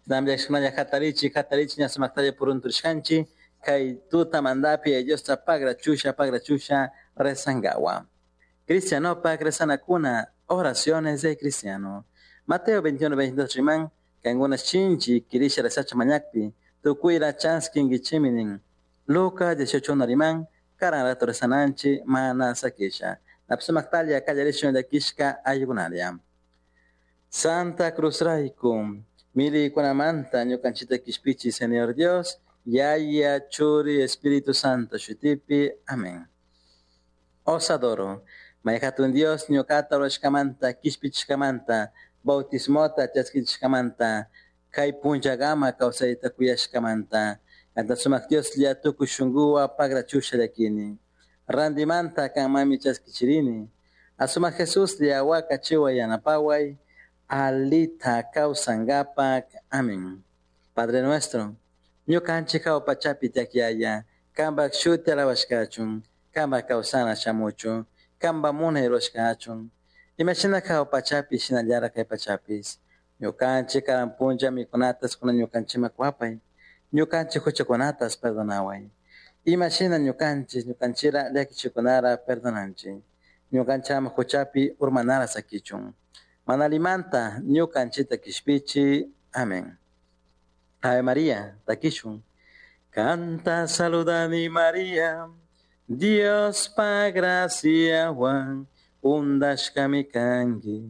Namllashkunalla hatarichi, hatarichi ña sumaktalla purunturishkanchik kay tutamantapi Diosta pagrachusha, pagrachusha rezankawa. Cristianopak rezanakuna, oraciones de cristiano. Mateo 21, 22 riman, kankuna shinchi kirisha rezacha mañakpi, tukuyra chaskinkichimi nin. Lucas 18 riman, karan rato rezananchi mana sakisha. Napsumaktalla kallarishun llakishka ayukunalla. Santa Cruz rayku, milikunamanta ñukanchita kishpichi, Señor Dios, Yaya, Churi, Espíritu Santo, shutipi, amén. Os adoro. Mayhatun Dios ñuqata rurashkamanta, kishpichishkamanta, bautismota chaskichishkamanta, kay punllakama kawsayta kuyashkamanta, kanta sumak Dioslla tukuy shunkuwan pagrachusha llakini. Randimanta kanmanmi chaskichirini. Asumak Jesuslla wakachiway yanapaway, alita kawsankapak. Amén. Padre nuestro, ñukanchik jahua pachapi tiyak Yaya, kanpak shuti alabashkachun, kanpak kawsana shamuchun, kanpak munay rurashkachun. Imashina jahua pachapi shinallara kay pachapish. Ñukanchik karan punlla mikunatas kunan ñukanchikman kuwapay. Ñukanchik huchakunatas perdonaway. Imashina ñukanchik ñukanchira llakichikunara perdonanchik. Ñukanchik ama huchapi urmanara sakichun. Mana allimanta ñukanchikta kishpichi. Amén. Ave María, takishun. Kanta saludani María, Diospa graciahuan undashkami kanki.